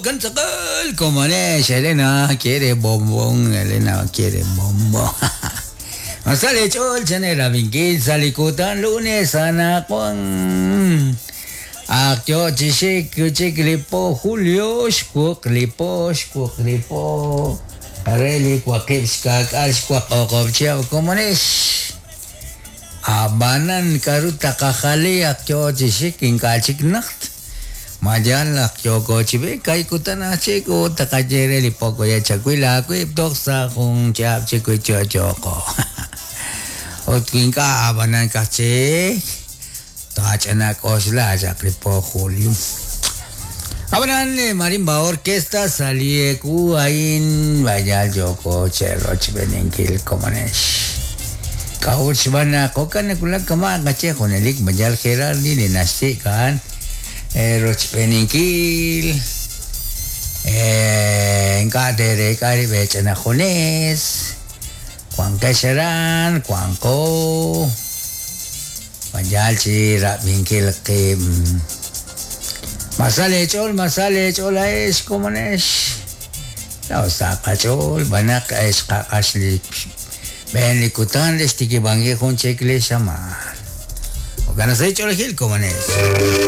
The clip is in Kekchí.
Kan komonex, Elena quiere bombón, Elena quiere bombón. Masale chol chanera vinkil salikutan lunes anakon. Akyo chishik kuchik lipo julio shkuk lipo shkuk lipo. Areli kwakip shkak al shkwak okop komonex. Abanan karuta kakali akyo chishik inkachik nakt. Mayan akyo chibe kai kutana chiku takayere lipo ya chakuila kuip toksa kung chap chiku chochoko. Otkinka abanan kachi. Tachanak osla lipo julio. Abanan marimba orquesta salieku ain vaya yoko chero chibenenkil komonesh. Kauch bana koka nekula kama kache jonelik bayal gerardi de nasikan rochpeninkil enkatere kari bechana jones Juan Kesharan Juan Ko bayal chi rabinkil kim masale chol es komonesh la osaka chol banak es kakasli Ben likutan les tikibangi jun chekle shaman. Okanasay chol gil komonesh.